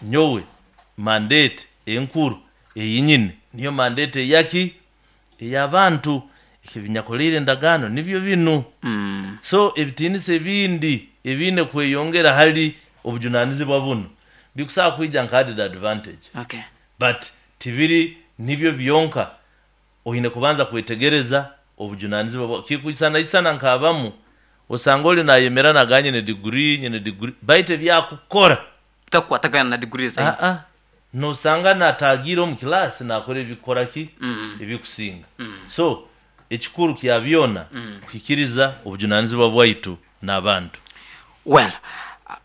Nyowe mandate enkuru eyinyine niyo mandate eyaki? Ey'abantu. Eki endagaano nibyo binu. So ebitiinisa ebindi ebiine kweyongera hali obujunanizibwa bunu bikusobola kwija nka added advantage. But tibiri nibyo byonka, oine kubanza kwetegereza obujunanizibwa bwawe. Kikwisanaisana nk'abamu, osanga oli nayemera nagamba nyine degree, nyine degree, baitu ebyakukora Bitakukwatagana na degree zaine. Aa, nosanga natagiire omu kilaasi nakora ebikukora ki? Ebikusinga. So ekikuru kya byona kuhikiriza obujunanizibwa bwaitu n'abantu. Well,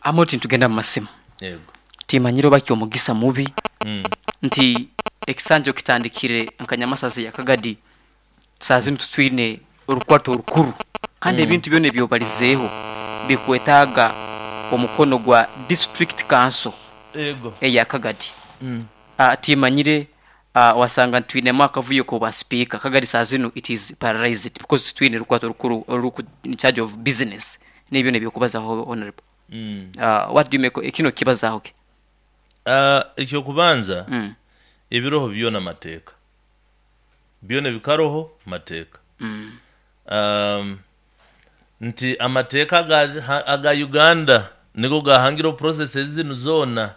Amooti nitugenda mu masimu. Yego. Timanyire oba ky'omugisa mubi nti ekisanja okitandikire nka Nyamasaza eya Kagadi saaha zinu titwine orukwato orukuru kandi ebintu byona ebyobalizeeho bikwetaaga omukono gwa District Council eya Kagadi. Timanyire wasanga nitwinemu akavuyo k'obwa sipiika, Kagadi saaha zinu it is paralyzed because titwine rukwato rukuru oruruku in charge of business n'ebyo byona eby'okubazaho Honourable. What do you make, kinu okukibazaaho ki? Eky'okubanza, ebiroho byona mateeka. Byona ebikaroho mateeka. Nti amateeka aga Uganda nigo gahangireho processes zinu zoona.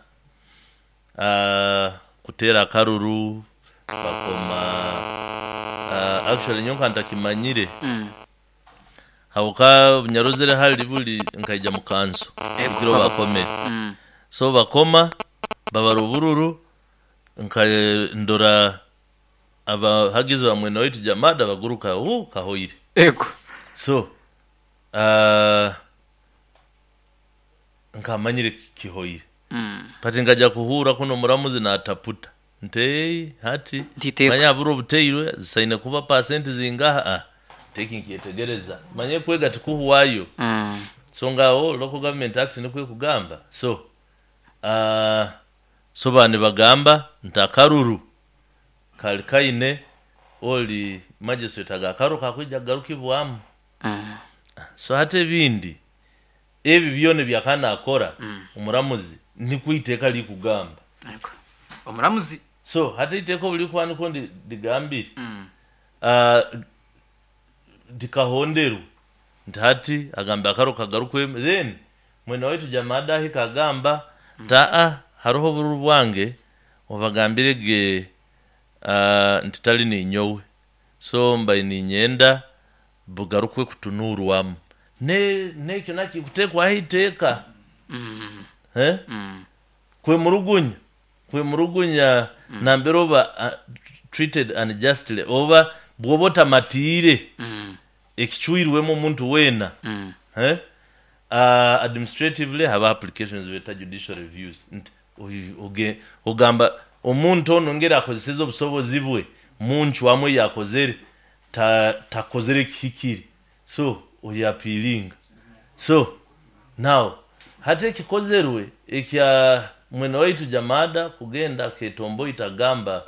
Kuteera akaruru, bakoma, actually nyowe nkaba ntakimanyire habwokuba obunyarozire hali buli nkaija mu kanso ekiro bakomere. So bakoma, babara obururu, nka ndora abahagizi ba mwene waitu Jamada baguruka huu kahoire. Ego. So nkamanyire kihoire. But nkaja kuhuura kunu omuramuzi nataputa nti eei hati Nti manya habura obuteirwe zisaine kuba pasenti zingaha ah eki nkyetegereza manya ekwega tikuhwayo. So ngaho Local Government Act nikwo ekugamba so so baba nibagamba nti akaruru kali kaine oli magistrate aga akaruru kakwija kugarukibwamu. So hati ebindi ebi byona ebi akaba nakora omuramuzi nikwo eiteeka rikugamba. Omuramuzi. So hati eiteeka obu ririkuba nikwo rigambire, rikahonderwa nti hati agambe akaruru kagarukwemu then mwene waitu Jamada ahika agamba nti aa hariho obururu bwange obagambire ge nti tari ninyowe so mbaire niinyenda bugarukwe kutunuurwamu. N'ekyo nakyo kikuteekwaho eiteeka. Kwemurugunya, kwemurugunya nambere oba treated unjustly oba bw'oba otamatiire ekicwirwemu omuntu weena, administratively habaho applications beeta judicial reviews nti ogamba omuntu onu engeri akozeseze obusobozi bwe muncwamu ei akozere takozere ekihikire so oya appealinga so now hati ekikozerwe ekya mwene waitu Jamada kugenda aketomboita agamba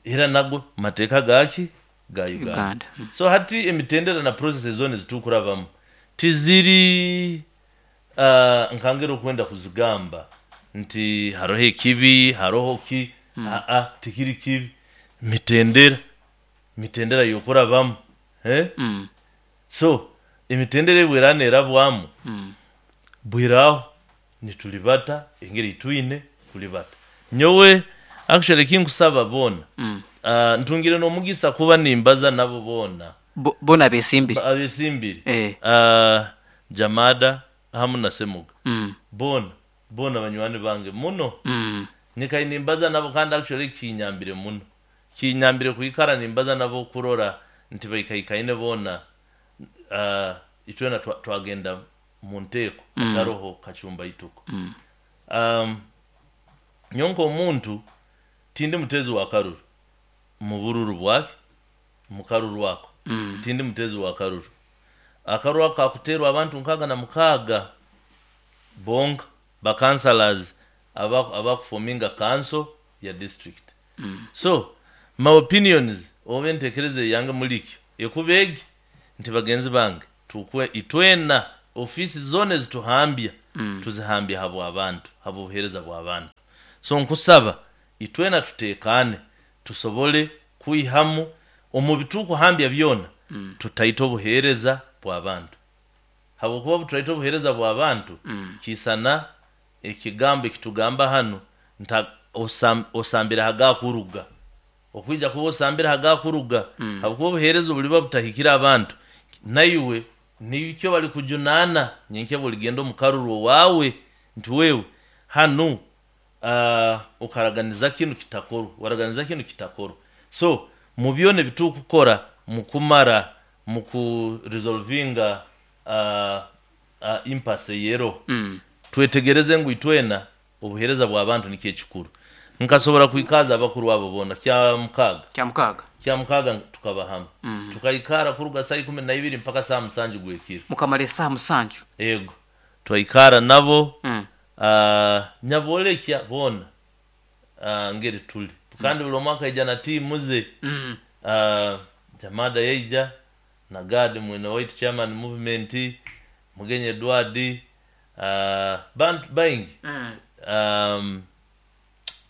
era nago mateeka gaki? Ga Uganda. So hati emitendera na processes zona ezitukurabamu tiziri nka ngeri okwenda kuzigamba nti haroho ekibi, haroho ki, aa tikiri kibi, mitendera, mitendera y'okurabamu So emitendera ei bw'eraba n'erabwamu, bw'eraaho nitulibata engeri ei twine kulibata. Nyowe actually eki nkusaba boona, ntungire n'omugisa kuba nimbaza nabo boona. Boona abesimbire? Abesimbire, Jamada hamu na Semuga, boona boona banywani bange muno. Nyikaire nimbaza nabo kandi actually kinyambire muno. Kinyambire kwikara nimbaza nabo kurora nti baikaikaine boona, itwena twagenda mu nteeko hataroho kacumba ituko. Nyowe nk'omuntu tindi muteezi wa karuru mu bururu bwaki, mu karuru ako, tindi muteezi wa karuru. Akaruru ako kakuteerwa abantu nkaaga na mukaaga bonka, ba councillors abakufominga kanso ya district. So my opinions oba entekereza eyange muli ikyo ekuba egi nti bagenzi bange tukwe itwena ofiisi zona ezituhambya tuzihambya habw'abantu, habw'obuheereza bw'abantu. So nkusaba itwena tutekane, tusobole kwihamu omu bitukuhambya byona, tutaita obuheereza bw'abantu, habwokuba obu turaita obuheereza bw'abantu, kiisana ekigambo ekitugamba hanu nta osambire hagakuruga, okwija kuba osambire hagakuruga, habwokuba obuheereza obuliba butahikire abantu, naiwe nikyo bali kujunaana nyenkya buligenda omu karuru waawe nti wewe hanu okaraganiza kinu kitakorwa, waraganiza kinu kitakorwa. So mu byona ebitukukora mukumara mukuresolvinga impasse yero, twetegereze ngu itwena obuheereza bw'abantu nikyo ekikuru. Nkasobora kwikaza abakuru abo boona kya mukaaga. Kya mukaaga. Kya mukaaga tukaba hamwe, tukaikara kuruga saa 12 mpaka saa 7 gwekiro. Mukamara esaaha 7. Ego, twaikara nabo. Nyabolekya boona ngeri tuli, kandi buli omwe akaija na tiimu ze. Jamada yaija na Gad mwene waitu, chairman movement, Mugenyi Edward, bantu baingi,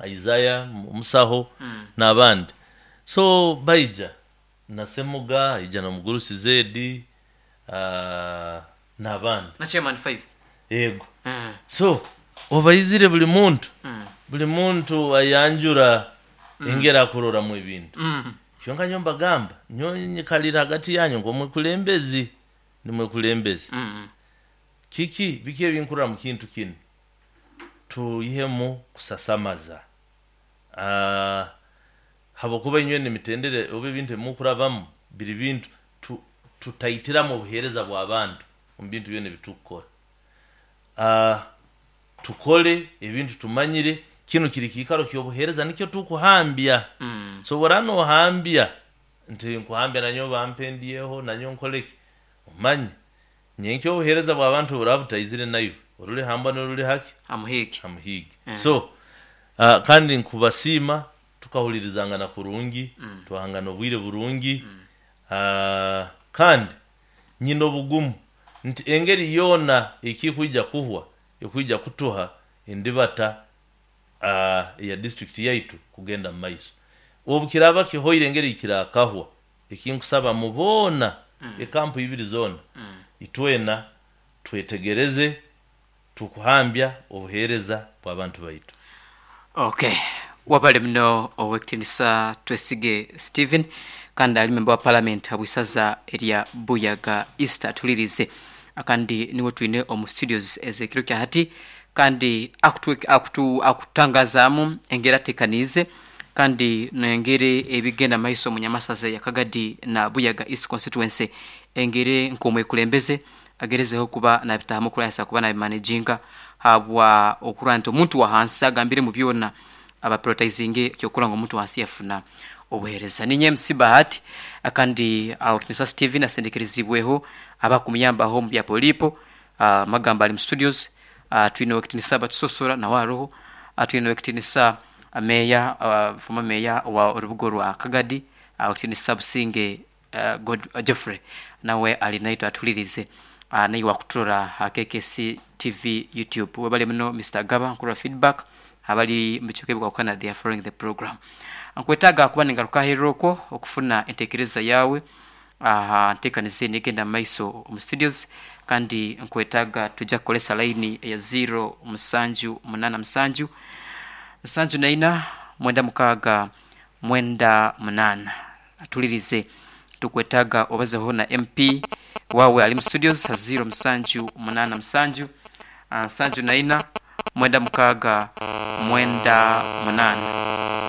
Isaiah Musaho n'abandi. So baija na Semuga, aija na Mugurusi Zedi, n'abandi. Na chairman 5. Ego. So obaizire buli muntu, buli muntu ayanjura engeri akuroramu ebintu. Kyonka nyo mbagamba, nyo nyikalira hagati yanyu ng'omwekulembezi, nimwekulembezi. Kiki biki ebinkurora mu kintu kinu, tuyihemu kusasamaza, habwokuba inywe nemitendere oba ebintu ebimukurabamu biri bintu tutaitiramu obuheereza bw'abantu omu bintu byona ebitukukora. Tukole ebintu tumanyire kinu kiri kiikaro ky'obuheereza, nikyo tukuhambya. Sobora nohambya nti nkuhambya nanyowe bampendyeho nanyowe nkoleki, omanye nyenkya obuheereza bw'abantu buraba butaizire naiwe oruli hambwa n'oruli haki amuhiigi. Amuhiigi. So kandi nkubasiima, tukahulirizangana kurungi, twahangana obwire burungi. Kandi nyina obugumu nti engeri yoona ekikwija kuhwa ekwija kutuha endibata eya district yaitu kugenda mu maiso. Obu kiraba kihoire engeri kirakahwa, ekinkusaba mu boona, ekampu ibiri zoona, itwena twetegereze tukuhambya obuheereza bw'abantu baitu. Okay, wabale muno owekitinisa Twesige Stephen, kandi ali member wa parliament habwisaza erya Buyaga East, atulirize kandi niwe twine omu studios ez'ekiro kya hati, kandi akutangazaamu engeri atekaniize kandi nengeri ebigenda maiso mu nyamasaza ya Kagadi na Buyaga East constituency, engeri nk'omwekulembeze agerezeho kuba nabitahamu okurwanisa kuba nabimanaginga, habwa okurora nti omuntu wa hansi agambire mu byona abaprioritizinge kyokura ngu omuntu wansi yafuna obuheereza. Ninye MC Bahati, kandi Owekitinisa Stephen asendekerezibweho abakumuyambaho mu bya polipo, magamba ali mu studios. Twine Owekitinisa Batusosora nawe aroho, twine Owekitinisa meya, former meya wa orubuga rwa Kagadi, Owekitinisa Businge Geoffrey nawe ali naitwe atulirize, naiwe wakuturora ha KKC TV YouTube. Webale muno Mr. Gaba nkurora feedback abali mu bicweka ebikwakukana, they are following the program. Nkwetaaga kuba ningaruka aheeru okwo okufuna entekereza yawe aha nteekaniza enu egenda mu maiso omu studios, kandi nkwetaaga tujja kukolesa line eya 0 7 8 7 74 96 98. Atulirize, tukwetaaga obazeho na MP wawe ali mu studios ha 0 7 8 7 74 96 98,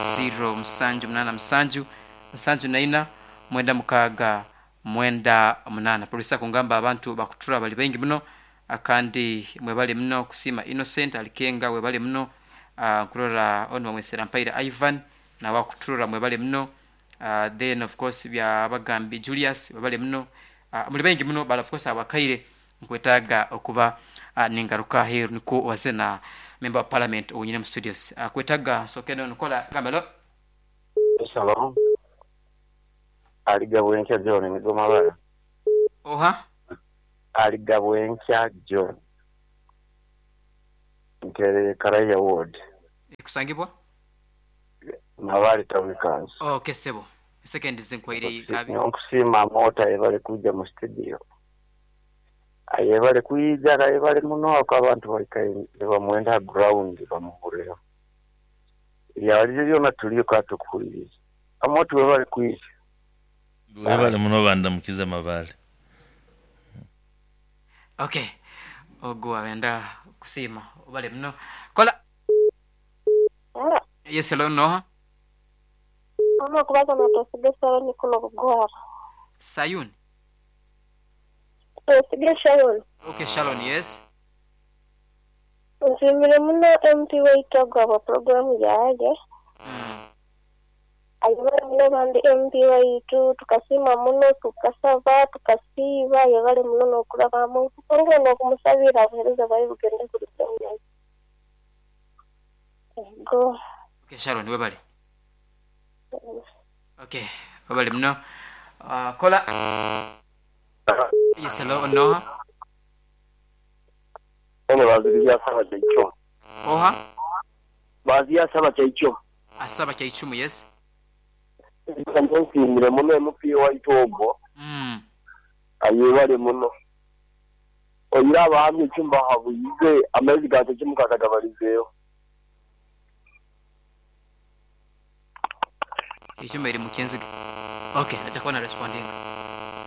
0 7 8 7 74 96 98. Polisi akungamba abantu bakutura bali baingi muno, kandi mwebale muno kusiima Innocent Alikenga, webale muno. Nkurora onu bamwesera Mpaire Ivan nawe akuturora, mwebale muno. Then of course byabagambi Julius, webale muno. Muli baingi muno, but of course abakaire nkwetaaga okuba ningaruka aheeru nikwo obaze na member wa parliament owunyine mu studios. Kwetaaga nsooke nkola gamba lo. Shalom. Aligabwenkya John nigo mabara. Oha? Aligabwenkya John. Ntereye Karaya ward. Kusangibwa Mabale town council. Okay, sebo second zinkwire kabi. Nkusiima Amota yebale kujja mu studio. Ayebale kwijja ayebale muno ako abantu baikaye bamwenda ground bamuhureho. Yalize byona tuliyo katukuhuliriza. Amota webale kwijja. Webale muno bandamukiza Mabale. Okay, ogwo abenda kusiima obale muno kola. Yes, hello, noha? Mama kubaza na Twesige Sharon kuno Bugwara. Sayun. Twesige Sharon. Okay, Sharon, yes. Nsimire muno MP waitu agwa programu yaje. Ayebale muno bandi MP waitu tukasima muno tukasaba tukasiiba ayebale muno n'okulabamu olwo n'okumusabira abuheereza bwaye bugende kuli. Go. Okay, Sharon, webale. Okay, webale muno. Kola. Yes, hello, noha? Ono baziria saba kyaicho. Oha? Bazia saba kyaicho. Asaba kyaichumu, yes. Nsimire muno MP waitu ogwo. Ayebale muno. Oyira abahamye ekyumba habuyize amaizi gatekimukakagabalizeeyo. Ekyuma eri mukyenzige. Okay, ajja kuba na responding.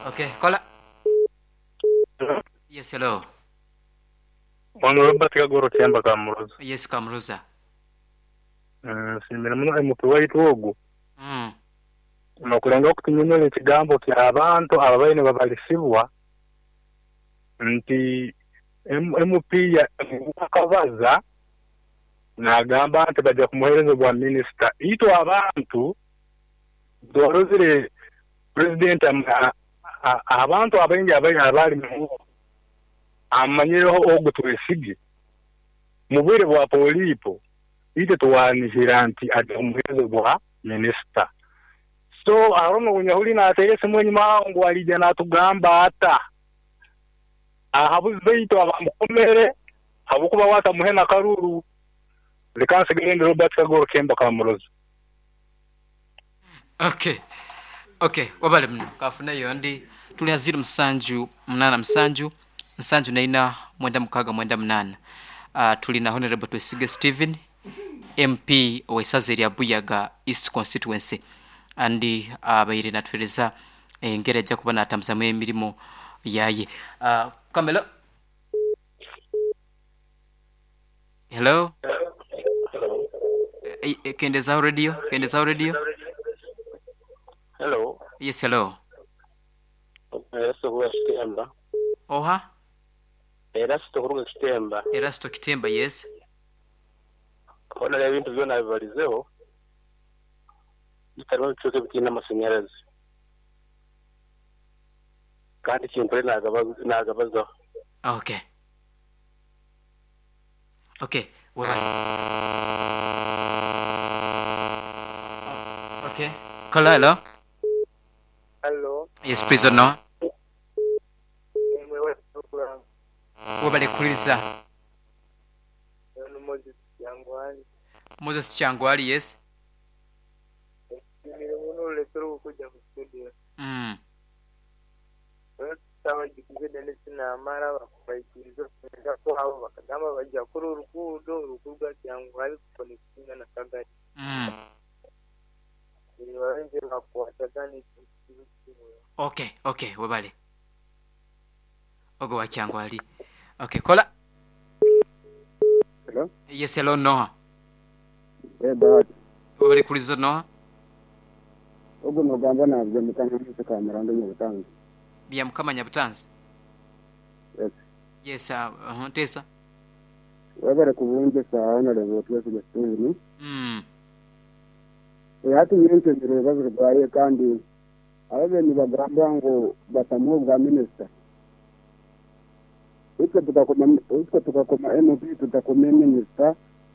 Okay, kola. Yes, hello. Ono Robert Kagoro Kyemba Kamuruza. Yes, Kamuruza. Nsimire muno MP waitu ogwo. Nokulenga okutunyonyola ekigambo ky'abantu ababaine babalisibwa nti MP yakabaza nagamba nti bajja kumuheereza bwa minisita. Itwe abantu twarozire president abantu abaingi abali amanyireho ogwo twesige mu bwire bwa polipo itwe twanihira nti ajja kumuheereza bwa minisita. So arono unyahuli natere simu enyuma ngu alija natugamba ata ahabuze itwe abamukomere abukuba watamuhe na karuru lekansigende Robert Kagoro Kemba Kamuroza. Okay. Okay, wabale mno kafuna yondi tuli 0 7 8 7 7 4 9 98. Tuli na Honorable Twesige Stephen MP owesaza erya Buyaga East Constituency andi abaire natwereza engeri ajja kuba natambuzamu emirimu yaye. Kamelo. Hello. Kendeza radio, kendeza radio. Hello. Yes, hello. Erasto kuruga Kitemba. Oha? Erasto kuruga Kitemba. Erasto Kitemba, yes. Ona ebintu byona bibalizeho. Bitarimu bicuke bitina amashanyarazi. Kandi kimpure nagabazaho. Okay. Okay, well. Okay. Hello, hello. Hello. Yes, please no. Wabale kuliriza. Moses Kyangwali. Moses Kyangwali, yes. Okay, okay, wabale. Ogo wa Kyangwali. Okay, kola. Hello? Yes, hello, Noah. Eh, Bahati. Wabale kuliza Noah. Ogo nogamba nabyo mukama kamerando nyabutanzi. Bya mukama nyabutanzi. Yes. Yes, tesa. Wabale kubunje saana leo twese Stephen. Hati nyinshi ibibazo rwaye kandi ababeni bagamba ngo batamuha bwa minister. Itwe tukakoma MP tutakoma minister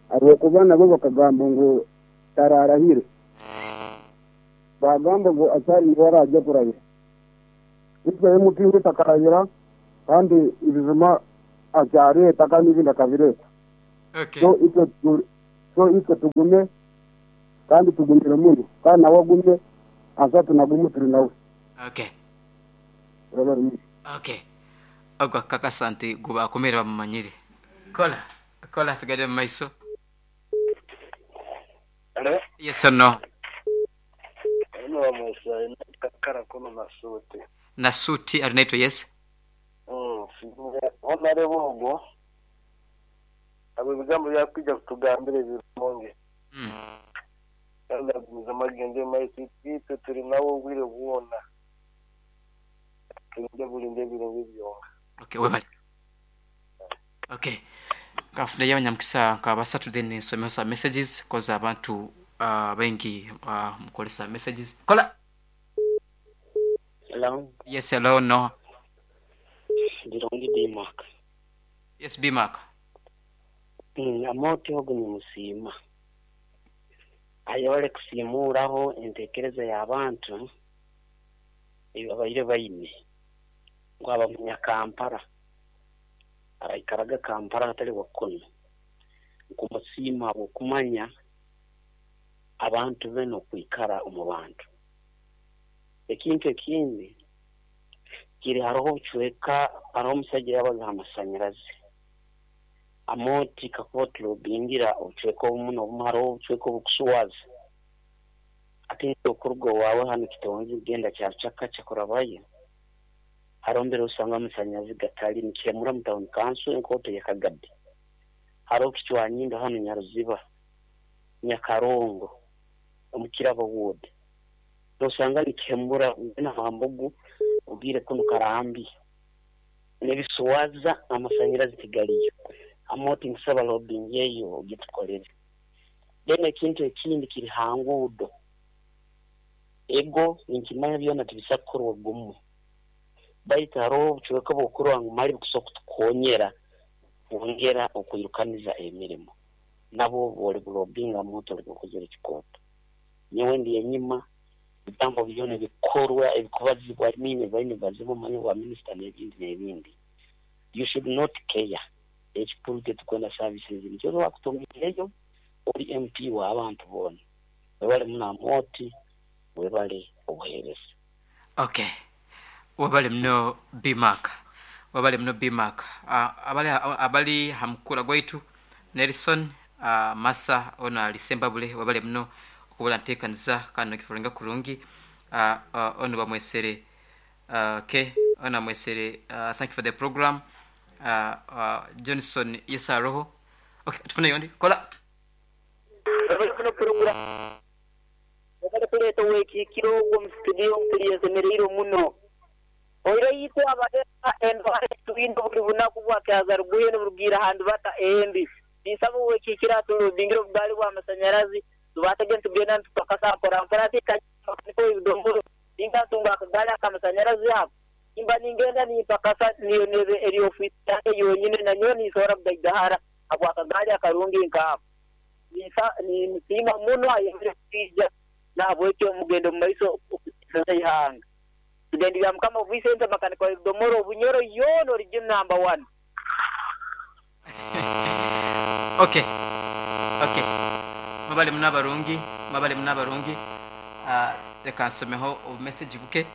abo kuba nabo bakagamba ngo tararahire. Bagamba ngo atari ngora ajya kurahira. Itwe MP utakarahira kandi ibizima acyareta kandi ibindi akabireta. Okay. So itwe So itwe tugume kandi tugumire muno, kandi nawe agume, asatu nagumu turi nawe. Okay. Webale muno. Okay, ogwo akakasa nti gubakomere bamumanyire. Kola kola, tugende mu maiso. Hello? Yes or no? Ono bamwesa kakara kuno na suti. Na suti ali naitwe, yes. Honarebo ogwo abo ebigambo byakwija kutugambira ebirungi. Kandi agumiza amagende maiso, itwe turi nawe obwire bwona. Tulinde bulinde ebirungi byonka. Okay, webale. Okay, kafuneyo abanyamukisa nka basatu, then nsomeho some messages koza abantu baingi mukolesa messages. Kola. Hello. Yes, hello, no. Birungi Bmark. Yes, Bmark. Amooti ogu nimusiima. Ayebale kusiimuuraho enteekereza y'abantu ei babaire baine ngu aba Munyakampara araikaraga Kampala hatali Wakono. Nkumusiima habw'okumanya abantu be n'okwikara omu bantu. Ekintu ekindi kiri haroho obucweka, haroho omusaija yabaza ha masanyarazi. Amooti kakuba tulobingira obucweka obumu n'obumu, haroho obucweka obukuswaza. Ati okuruga owaawe hanu Kitonzi kugenda Kyarucaka kurabayo, haroho mbere osanga amasanyarazi gatali nikihemura mu town council enkooto ya Kagadi. Haroho Kicwanyindo hanu Nyaruziba, Nyakarongo, omu Kirabo ward. Nosanga nikihemura Namambugu ogiire kunu Karambi. N'ebiswaza amasanyarazi tigaliyo. Amooti nkusaba lobbying eyo ogitukolere. Then ekintu ekindi kiri ha nguudo. Ego ninkimanya byona tibisa kukorwa gumu. Baitu haroho obucweka bw'okurora ngu mali bukusobora kutukonyera kwongera okwirukaniza emirimo. Nabwo bwoli bulobinga amooti oli bukozere ekikooto. Nyowe ndi enyima, ebigambo byona ebikorwa ebikubazibwa, I mean baine bazibwa omanye bwa minisita n'ebindi n'ebindi. You should not care. Ekikuru tetukwenda services nikyo bakutumiireyo ori MP w'abantu boona. Webale muno Amooti, webale obuheereza. Okay, webale muno Bmark, webale muno Bmark. Abali ha mukura gwaitu Nelson Massa ono ali Sembabule, webale muno okubula nteekaniza kandi nokiforinga kurungi. Ono bamwesere, okay, ono amwesere, thank you for the program. Johnson, yes, aroho. Okay, tufuneyo ndi kola. Webale program. Webale kuleeta owekiikiro ogwo omu studio mpulira nsemereirwe muno. Oire itwe abahema endwara etwine buli bunaku bwakyazaruguye niburugiira ha ndubata embi. Ninsaba owekiikiro atulobingire obugaali bw'amasanyarazi tubaasege nitugenda nitupakasa mpora mpora ati kanyuma ebidomoro ninga ntunga akagaali ak'amasanyarazi ako nimba ningenda nimpakasa niyo nebe eri ofiisi yange yonyine nanyowe ninsobola kugaigahara habw'akagaali akarungi nkaako. Nimusiima muno ayongere kwija nahabwekyo omugendo omu maiso okuteereza eihanga. Tugenda bya Mukama Vincent makanika wa ebidomoro Obunyoro yoona origin number one. Okay, okay, mwebale muno abarungi, mwebale muno abarungi. Leka nsomeho obu message buke.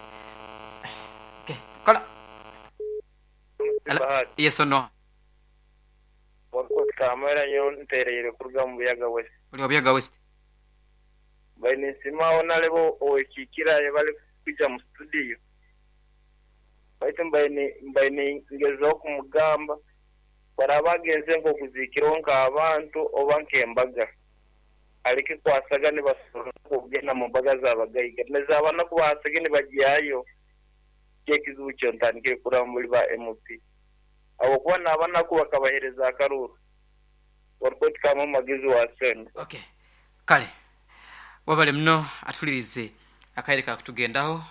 Okay, kola. Hello. Yes or no? Wakutamara nyo ntereire kuruga mu Buyaga West. Ori wa Buyaga West. Baine nsiima Honarebo owekiikira bali kwija mu studio. Baitu mbaine ngezaho kumugamba baraba agenze nk'okuziikiraho nk'abantu oba nk'embaga. Aleke kwasaga nibasobola okugenda mu mbaga z'abagaiga. Nez'abanaku basage nibagyayo. Kyekizibu kyo ntandikire kuraba muri ba MP. Habwokuba n'abanaku bakabahereza akaruuru. Warikoti kama magezi wa sente. Okay. Kale. Wabale muno atulirize akaire kakutugendaho.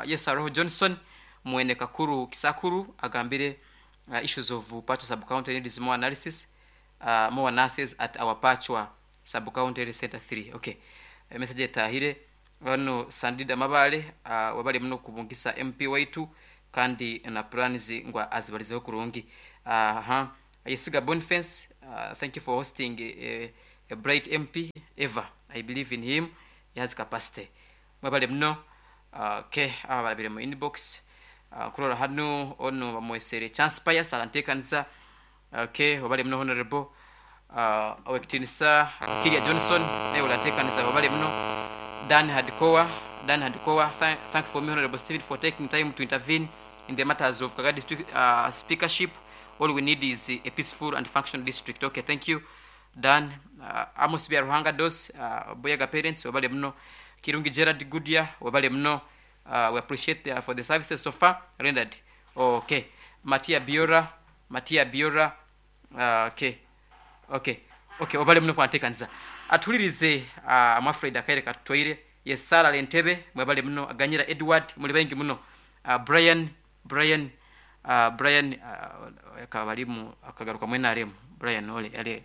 Yes, aroho Johnson mwene Kakuru Kisakuru agambire issues of Pachwa sub-county needs more analysis, more nurses at our Pachwa sub-county health center 3. Okay. Message etahire wano Sandida Mabale, wabale muno kubungisa MP waitu kandi na plans ngwa azibalizeho kurungi. Yesiga Boniface, thank you for hosting. A bright MP ever. I believe in him, he has capacity. Mwebale muno. Okay, aba barabire mu inbox. Nkurora hano ono bamwesere Chance Pius arantekanisa. Okay, wabale muno honorable. Owekitinisa Kiria Johnson naye orantekanisa, wabale muno. Dan Hadikowa, Dan Hadikowa, thank for me Honorable Stephen for taking time to intervene in the matters of Kaga district speakership. All we need is a peaceful and functional district. Okay, thank you Dan. Amos Byaruhanga Dos, Boyaga parents, wabale muno. Kirungi Gerard Goodyear, wabale muno. We appreciate for the services so far rendered. Okay, Matia Biora, Matia Biora, okay. Okay, wabale muno kwantekanisa. Atulirize amafred akaire kattoire. Yes, Sara Lentebe, mwebale muno. Aganyira Edward, muli bengi muno. Brian, Brian, Brian akabalimu akagaruka mwena aremu. Brian ole ale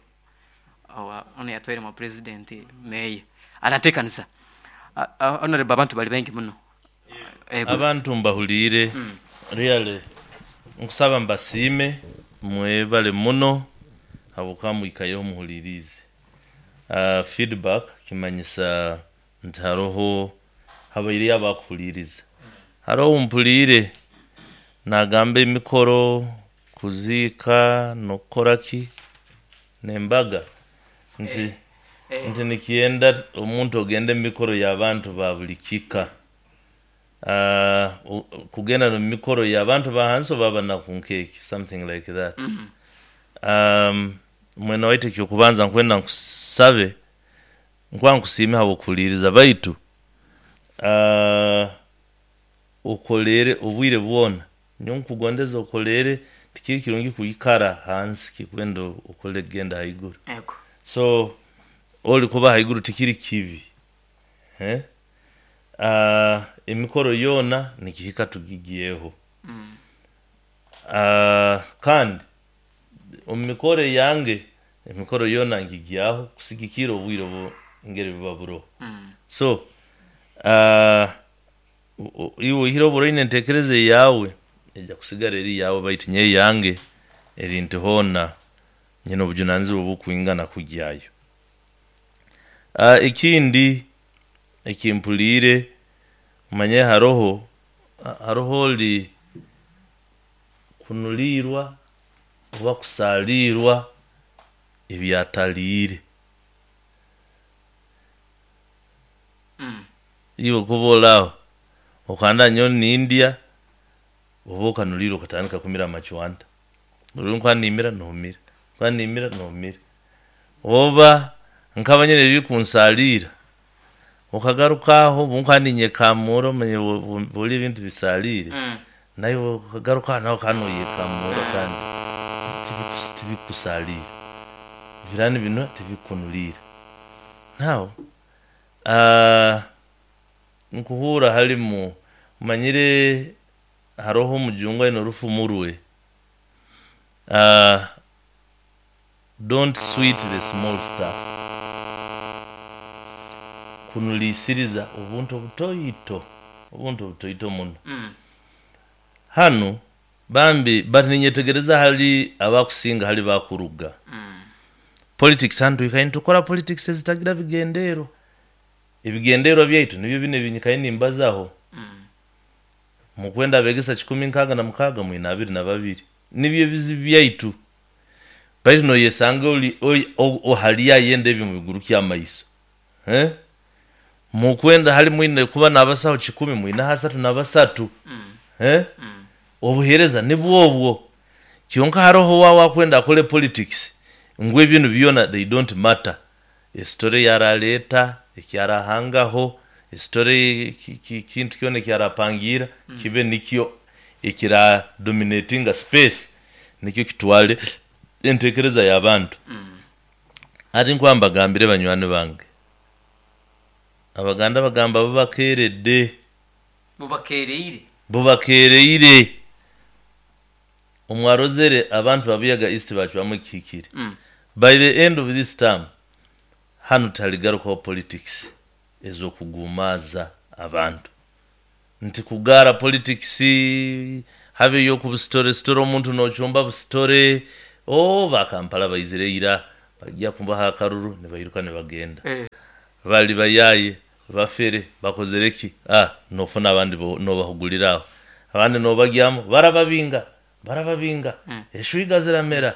ono yatwaire mu president mayor. Anatekanisa. Honorable abantu bali bengi muno. Abantu mbahulire. Really nkusaba mbasiime mwebale muno habwokuba mwikaireho muhulirize. Feedback kimanyisa nti haroho habaire abakuhuliriza. Haroho mpulire nagamba emikoro kuziika n'okukora ki n'embaga nti nti nikyenda omuntu ogende emikoro y'abantu ba buli kika. Kugenda mu mikoro y'abantu ba hansi oba banakunkeeki, something like that. Mwena waitu ekyokubanza nkwenda nkusabe nkuba nkusiime habw'okuhuliriza baitu okolere obwire bwona nyowe nkugondeza okolere tikiri kirungi kwikara hansi kikwenda okole kugenda haiguru. So oli kuba haiguru tikiri kibi. Emikoro yoona nikihika tugigiyeho. Kandi omu mikoro yange emikoro yoona ngigyaho kusigikira obwire obu ngeri buba buroho. So iwe oihire oburoine entekereza eyawe ejja kusigara eri yawe baitu nyowe yange eri nti hoona nyine obujunanizibwa obukwingana kugyayo. Ekindi ekimpuliire manye haroho oli kunuliirwa oba kusaliirwa ebyataliire. Iwe kuba olaaho okanda nyowe nindya oba okanuliirwa okatandika kumira amacwanta. Ori nkuba nimira noomira, nkuba nimira noomira. Oba nkaba nyine ebikunsaliira okagaruka aho obu nkuba ninyekamura omanye buli ebintu bisaliire naiwe okagaruka nawe okaba noyekamura kandi tibikusaliira. Birani binu tibikunuliira. Now nkuhuura halimu manyire haroho omujungu aine orufumu rwe. Don't sweet the small stuff. Kunuliisiriza obuntu obutoito muno. Hanu bambi bati ninyetegereza hali abakusinga hali bakuruga. Politics hanu twikaire nitukora politics ezitagira bigendeerwa. Ebigendeerwa byaitu nibyo binu ebinyikaire nimbazaho. Mukwenda abegesa 166 mwine 22. Nibyo ebizibu byaitu. Baitu noyesanga oli hali ayenda ebyo mubiguru ky'amaiso. Mukwenda hali mwine kuba n'abasaho 10 mwine 33. Obuheereza nibwo obwo. Kyonka haroho wawe akwenda akole politics ngu ebintu byona they don't matter. Esitore yaraleeta ekyarahangaho esitore kintu kyona ekyarapangira kibe nikyo ekira dominatinga space nikyo kitwale entekereza y'abantu. Ati nkuba mbagambire banywani bange. Abaganda bagamba bubakeeredde. Bubakeereire. Bubakeereire. Omwarozere abantu babuyaga East bacwamu ekihikire. By the end of this term hanu taligarukaho politics ez'okugumaaza abantu. Nti kugaara politics habeyo okubusitore sitore omuntu nochumba busitore bakampala baizire ira Bajja kubaha akaruru nibairuka nibagenda. Bali bayaye bafere bakozere ki, nofuna abandi nobahuguliraho, abandi nobagyamu barababinga eshwiga ziramera,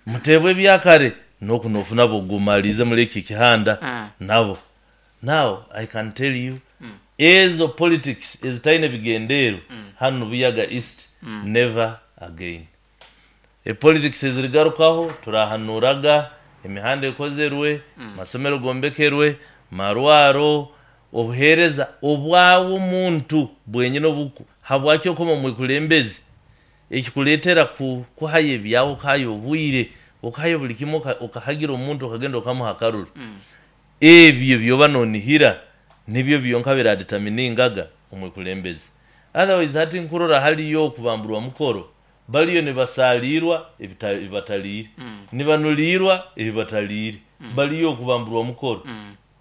mutebwe ebyakare noku nofuna bogumalize muri eki kihanda nabo. Now I can tell you, ezo politics ezitaine bigendero hanu Buyaga East, never again. Politics ezirigarukaho turahanuraga emihanda ekozerwe, masomero gombekerwe, marwaro, obuhereza obwawe omuntu bwenyine obuku habwaki okoma omwikulembezi ekikuleetera kuhayo ebyawe, okahayo obwire, okahayo buli kimwe, okahagira omuntu okagenda okamuha akaruru. Ebyo byoba nonihira nibyo byonka biradeterminingaga omwikulembezi. Otherwise hati nkurora haliyo okubamburwa mukoro, baliyo nibasalirwa ebibataliire, nibanulirwa ebibataliire, baliyo okubamburwa mukoro.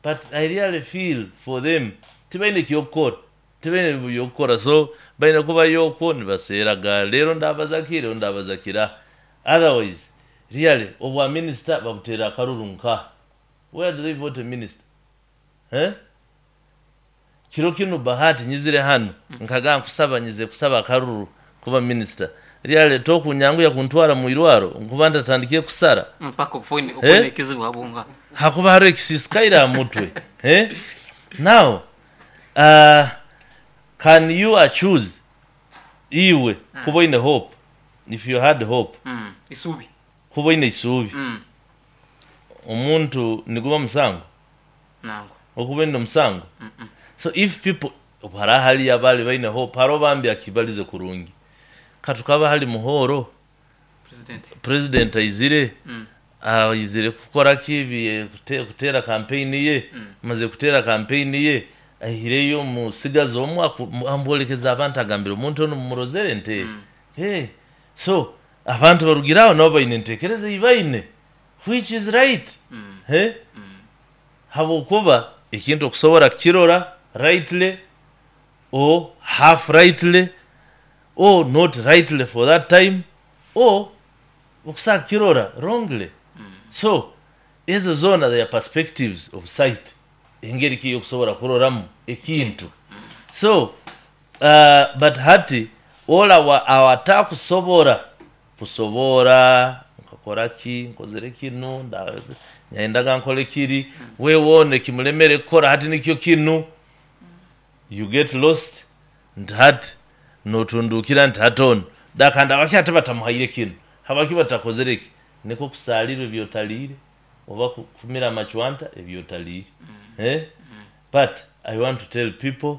But I really feel for them, tibaine kyokukora, tibaine byokukora, so baine kubayo okwo nibaseeraga leero ndabaza ki, leero ndabaza kira. Otherwise really obwa minister babutera akaruru nka. Where do they vote a minister? Kiro kinu Bahati nyizire hano nkaga nkusaba nyize kusaba akaruru kuba minister. Really tokunyanguya kuntwara mu irwaro nkuba ntatandikiye kusara mpaka ofune ekizibu abunga. Hakuba hariho ekisisikaire mutwe. Now can you choose iwe kuba oine hope? If you had hope, isubi kuba oine isubi, omuntu niguba musango nango okuba oine omusango. So if people hara hali abali baine hope, haro bambi akibalize kurungi katukaba hali muhoro president aizire, aizire kukora ki, kutera campaign ye, maze kutera campaign ye ahireyo musigazi omwe ambolekeza abantu agambire omuntu ono mumurozere nte. So abantu barugiraho nabo baine entekereza ibaine, which is right. Habwokuba ekintu okusobora kukirora rightly or half rightly or not rightly for that time, or okusobola kukirora wrongly. So ezo zona they are perspectives of sight, engeri ki yokusobora kuroramu ekintu. So but hati ola awatakusobora kusobora nkakora ki, nkozere kinu, nyendaga nkole kiri, wewone kimulemere kukora hati nikyo kinu, you get lost nti hati notundukira nti hati ono dakanda abaki ate batamuhaire kinu, habaki batakozere ki, niko kusalirwa ebyotaliire oba kumira amachwanta ebyotaliire. But I want to tell people,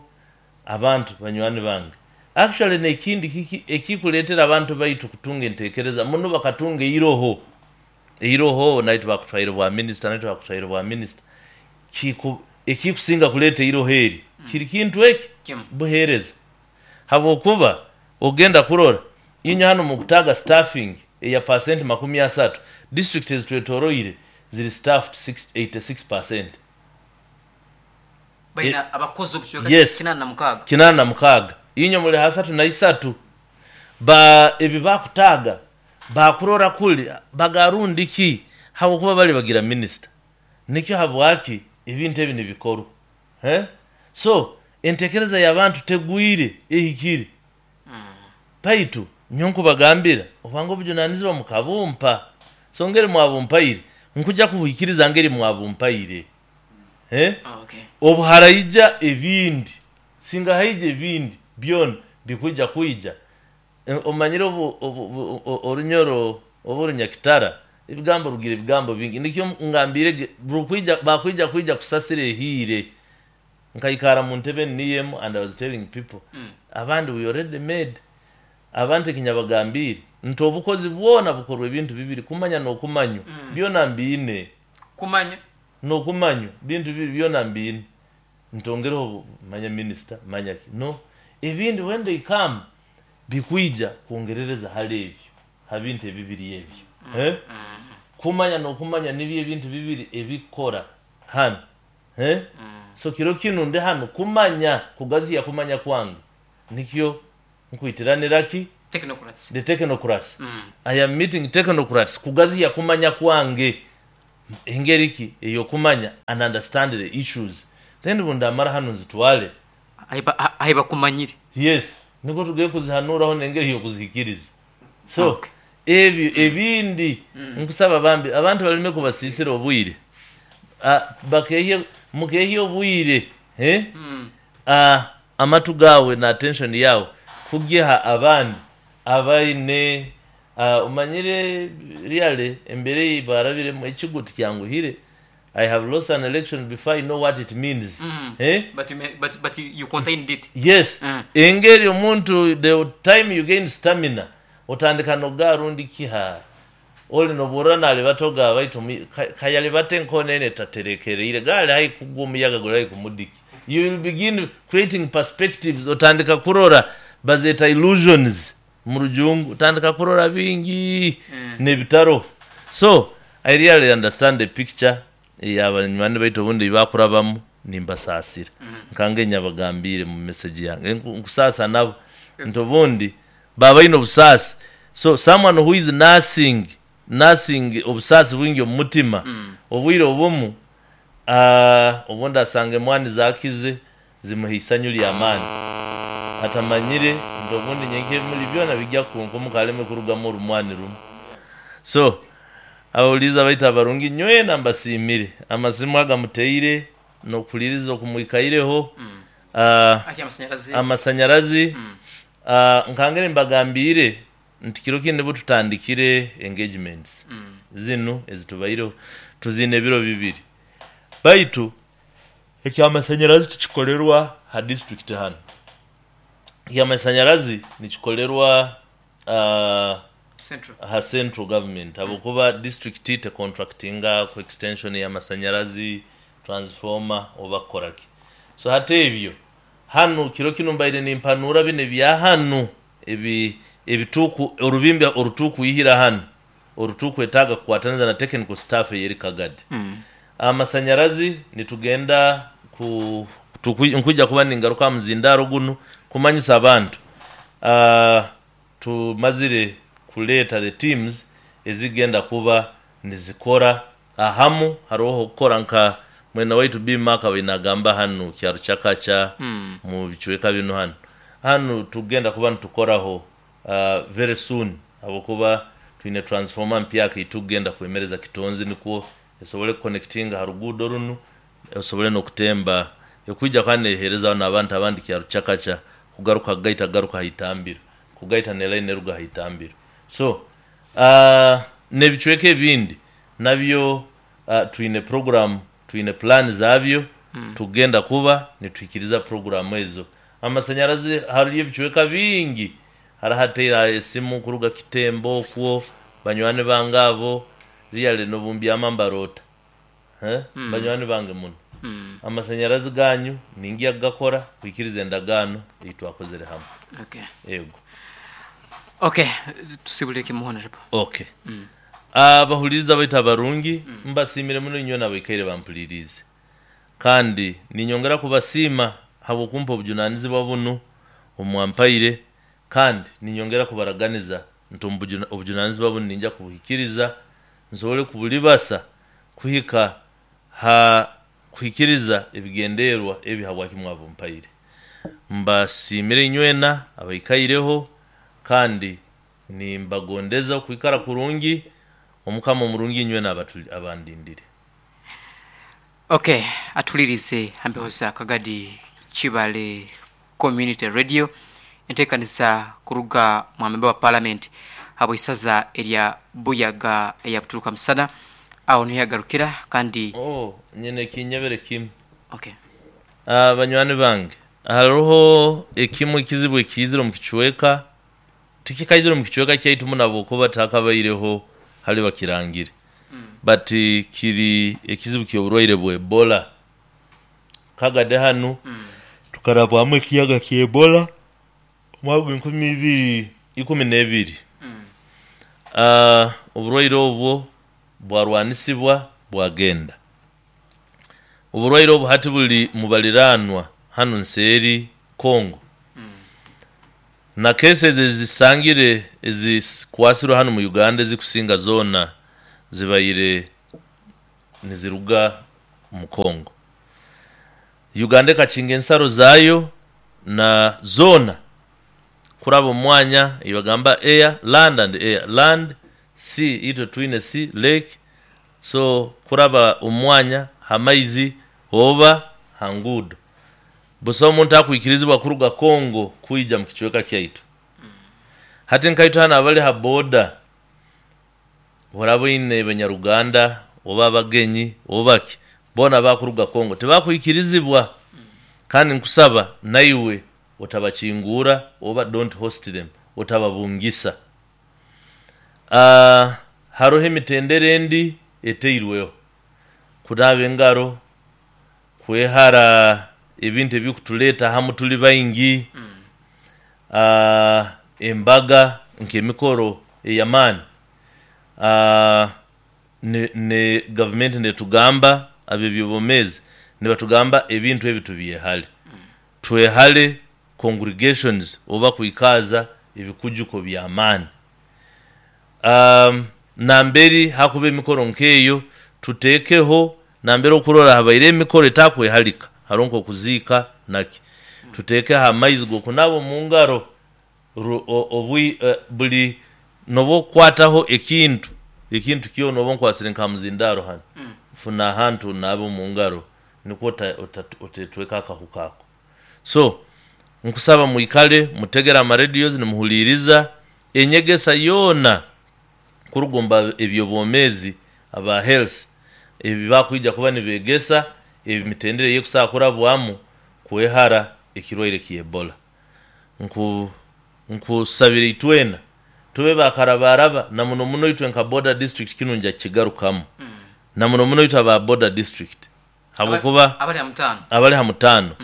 abantu banywani bange, actually nekindi kiki ekikuleetera abantu baitu kutunga entekereza muno, bakatunga eiroho naitwe bakutwaire bwa minister, naitwe bakutwaire bwa minister, ekikusinga kuleeta eiroho eri kiri kintu eki buhereza. Habwokuba ogenda kurora inywe hano mukutaga staffing eya 30%, district ezitwetoroire ziri staffed 86%. Baina abakozi obucweka 86. 86. Inywe muli 33. Ba ebi bakutaga bakurora kuli bagarundi ki habwokuba bali bagira minister. Nikyo habwaki ebintu ebi nibikorwa. So entekereza y'abantu tegwire ehikire. Baitu nyonku bagambira obwangu obujunanizibwa mukabumpa. So ngeri mwabumpaire nkuja kuhikiriza ngeri mwabumpaire. Obuharaija ebindi singa haija ebindi byona bikuja kuija. Omanyire orunyoro oburunyakitara ebigambo rugira ebigambo bingi nikyo ngambire rukwija bakwija kuija kusasira ehire nkaikara mu ntebe niyemu and I was telling people abandi we already made abantu ekinyabagambire nti obukozi bwona bukorwa ebintu bibiri kumanya n'okumanywa byona mbiine kumanya n'okumanywa bintu bibiri byona mbiine ntongereho manya minister manya ki no ebindi when they come bikwija kwongerereza hali ebyo habintu ebibiri ebyo. Kumanya n'okumanya nibyo ebintu bibiri ebikora hano. So kiro kinu ndi hano kumanya kugaziya kumanya kwange nikyo nkwitiranira ki Technocrats. The technocrats. I am meeting technocrats kugaziya kumanya kwange engeri ki eyokumanya and understand the issues, then bundamara hanu nzitwale Ahi bakumanyire. Yes, niko tugiye kuzihanuraho nengeri yokuzihikiriza. So Okay. ebyo ebindi nkusaba bambi abantu baleme kubasisira obwire. Bakehye mukehye obwire, eh? Amatu gawe na attention yawe kugiha abandi abaine, umanyire really embere barabiremu ekigo tikyanguhire. I have lost an election before I know what it means. Eh? But you, may, but you contained it. Yes. Engeri omuntu, the time you gain stamina, otandika nogarundi kiha oli noburana nalibatoga baitu kayalibate nkonene taterekereire gali hai kugwa omuyaga gulai kumudiki. You will begin creating perspectives, otandika kurora bazeta illusions mu rujungu, otandika kurora bingi nebitaro. So I really understand the picture yabanywani baitu obundi bakurabamu, nimbasaasira. Nkange nyabagambire mu message yange nkusaasa nabo nti obundi babaine obusaasi. So someone who is nursing obusaasi bwingi omu mutima, obwire obumu, obundi asanga emwani zakize zimuha isanyu ly'amaani atamanyire nti obundi nyenke ebimuli byona bijja kunkomuka aleme kurugamu orumwani rumu. So abawuliriza baitu abarungi nywena mbasiimire amasimu agamuteire n'okuhuliriza okumwikaireho. Ati amasanyarazi. Amasanyarazi, nkangere mbagambire nti kiro kindi nibo tutandikire engagements zinu ezitubaireho tuzine ebiro 2, baitu ekyamasanyarazi tikikolerwa ha district hanu. Ekyamasanyarazi nikikolerwa Central. Ha central government, habwokuba district te contractinga ku extension y'amasanyarazi, transformer oba kukoraki. So hati ebyo hanu kiro kinu mbaire nimpanura bino ebya hanu ebi ebituku orubimbi orutukuyihira hanu orutukwetaaga kukwataniza na technical staff eyeri Kagadi. Amasanyarazi nitugenda ku nkuja kuba ningaruka muzindaro guno kumanyisa abantu. Tumazire kuleeta the teams ezigenda kuba nizikora ahamu, haroho okukora nka mwena waitu bimaka bainagamba hanu kyaro kyakacha mu bicweka bino hanu hanu tugenda kuba nitukoraho very soon, habwokuba twine transformer mpyaka itugenda kwemereza kitonzi nikwo esobole kuconnectinga ha ruguudo runu, esobole n'okutemba ekwija kandi neheereza n'abantu abandi kyaro kyakacha kugaruka gaita garuka haitambiro kugaita ne line eruga haitambiro. So n'ebicweka ebindi nabyo, twine program, twine plan zabyo, tugenda kuba nituhikiriza program ezo. Amasanyarazi hariyo ebicweka bingi harahateera esimu kuruga Kitembo okwo banywani bange abo really nobumbyama mbarota, eh? Banywani bange muno, amasanyarazi ganyu ningiya kugakora kuhikiriza endagaano ei twakozere hamwe. Okay. Ego. Okay, tusibule kimu, honorable. Okay. Abahuliriza baitu abarungi, mbasiimire muno inywe nabaikaire bampuliriize, kandi ninyongera kubasiima habwokumpa obujunanizibwa bunu omwampaire, kandi ninyongera kubaraganiza nti obujunanizibwa bunu ninja kubuhikiriza nsobole kubulibasa kuhika ha kuhikiriza ebigenderwa ebi habwaki mwabumpaire. Mbasiimire inywena abaikaireho, kandi nimbagondeza okwikara kurungi. Omukama omurungi inywena abandindire. Okay, atulirize hambeho za Kagadi Kibale Community Radio, enteekaniza kuruga mwamemba wa parliament habw'isaza erya Buyaga eya Buturuka Musana. Aho niho yagarukira kandi Oh, nyine kinyebere kimu. Okay. Banywani bange, hariho ekimu ekizibu ekiizire omu kicweka, tikikaizire omu kicweka kyaitu muno habwokuba takabaireho hali bakirangire, but kiri ekizibu ky'oburwaire bwa Ebola. Kagade hanu tukarabwamu ekiyaga kya Ebola omwaka gwa 2012. Oburwaire obwo bwarwanisibwa bwagenda. Oburwaire obu hati buli mubaliranwa hanu nseeri Congo. Na cases ezisangire ezikwasirwe hanu mu Uganda ezikusinga zoona zibaire niziruga mu Congo. Uganda ekakinga ensaro zaayo na zoona kuraba omu mwanya ebagamba air, land and air, land, sea, itwe twine sea, lake, so kuraba omu mwanya ha maizi oba ha nguudo. Busaho omuntu akwikirizibwa kuruga Congo kwija mu kicweka kyaitu. Hati nkaitwe hanu abali ha boda, oraba oine banyaruganda oba abagenyi oba ki, boona abakuruga Congo tibakwikirizibwa. Kandi nkusaba naiwe otabakingura oba don't host them, otababungisa. Haroho emitendera endi eteirweho, kunaaba engaro, kwehara ebintu ebikutuleeta hamu tuli baingi, embaga nk'emikoro ey'amaani. Ne gavumenti netugamba ab'ebyobwomeezi nibatugamba ebintu ebi tubyehale. Twehale congregations oba kwikaaza ebikujuko by'amaani. Namberi hakuba emikoro nk'eyo tuteekeho namberi okurora habaire emikoro etakwehalika, haroho nk'okuziika naki, tuteekeho amaizi g'okunaaba omu ngaro buli n'obu okukwataho ekintu, ekintu kyona oba onkwasire nka muzindaaro hanu, funa ahantu onaabe omu ngaro nikwo otetweka akahuka ako. So, nkusaba mwikale mutegere ama radios nimuhuliiriza enyegesa yoona kuruga omu b'ebyobwomeezi aba health ebi bakwija kuba nibeegesa emitendera ey'ekusobola kurabwamu kwehara ekirwaire kya Ebola. Nkusabira itwena tube bakarabaraba na muno muno itwe nka Border District kinu nja kukigarukamu na muno muno itwe aba Border District habwokuba abali ha mutaano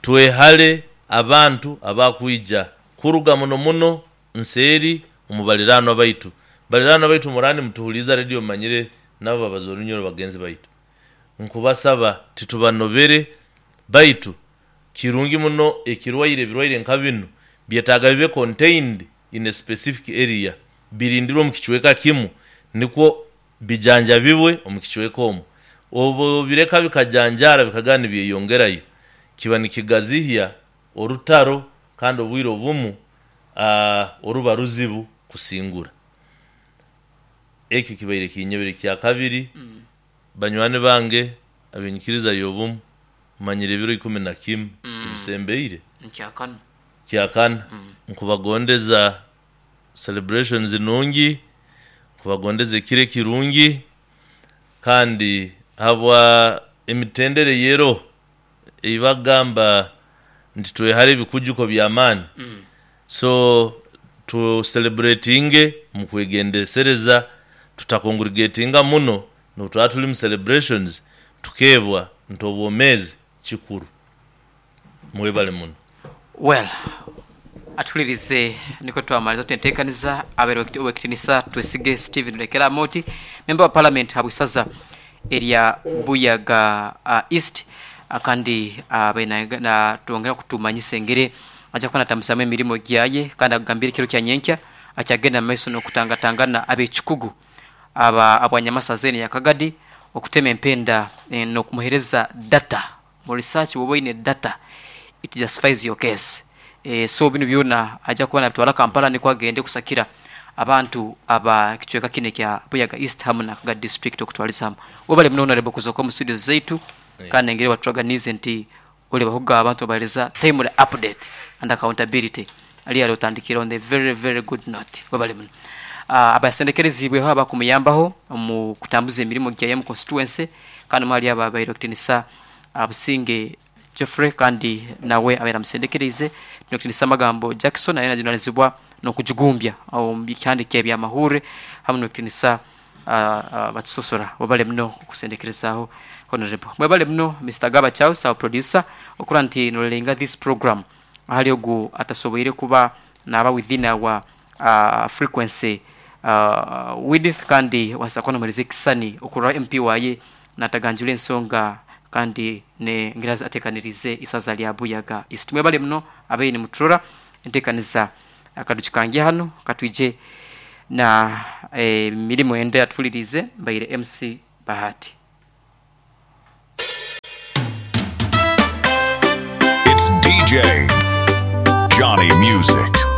twehale abantu abakwija kuruga muno muno nseeri omu baliraanwa baitu. Baliraanwa baitu muraba nimutuhuliiriza rediyo mumanyire nabo babaza Orunyoro bagenzi baitu. Nkubasaba titubanobere baitu kirungi muno ekirwaire ebirwaire nka binu byetaaga bibe contained in a specific area, birindirwe omu kicweka kimu nikwo bijanjabibwe omu kicweka omwo. Obu obireka bikajanjaara bikagenda nibyeyongerayo, kiba nikigazihya orutaro kandi obwire obumu oruba ruzibu kusingura. Ekyo kibaire kinyebere. Ekyakabiri, banywani bange ab'enyikiriza y'obumu, manyire ebiro 11 tubisembeire. Kyakana. Nkubagondeza celebrations nungi, nkubagondeza ekiro ekirungi kandi habwa emitendera eyeroho ei bakugamba nti twehare ebikujuko by'amaani, so tu celebratinge mu kwegendesereza, tutakongrigatinga muno n'obu turaba turi mu celebrations tukeebwa nti obwomeezi kikuru. Mwebale muno. Well, atuhulirize nikwo twamaliza tuti enteekaniza abaire Owekitinisa Twesige Stephen Rekera Amooti, memba wa Palamenti habw'isaza erya Buyaga East kandi abaire natwongera kutumanyisa engeri aja kuba natambuzaamu emirimo gyaye kandi akugambire ekiro kya nyenkya akyagenda mu maiso n'okutangatangana ab'ekikugu aba abwanyamasaza eno eya Kagadi okutema empenda n'okumuhereza data. Mu research bwoba oine data it justifies your case so binu byona aja kuba nabitwara Kampala nikwo agende kusakira abantu aba kicweka kinu ekya Buyaga East hamu na Kagadi district okutwaliza hamu. Webale muno Honourable kuzoka omu studio zaitu kandi engeri waturaganiize nti olibahuga abantu nobahereza timely update and accountability really otandikire on a very very good note webale muno. Abasendekereziibweho abakumuyambaho omu kutambuza emirimo gyaye omu constituency kandi omwe ahari abo abaire Okitinisa Businge Geoffrey kandi nawe abaire amusendekereize n'Okitinisa Magambo Jackson aye najunanizibwa n'okujigumbya omu bihandiiko eby'amahuurre hamu n'Okitinisa Batusosora. Webale muno okusendekerezaaho Honourable. Mwebale muno Mister Gaba Charles our producer okuba nti norerenga this program ahari ogu atasoboire kuba naba within our frequency width kandi wabaasa kuba nomuheereza ekisisani okurora MP waaye nataganjura ensonga kandi n'engeri ateekaniriize eisaza rya Buyaga East. Mwebale muno abaire nimuturora. Entekaniza akadukikange hano katwije na mirimo ende yatulirize. Mbaire MC Bahati. It's DJ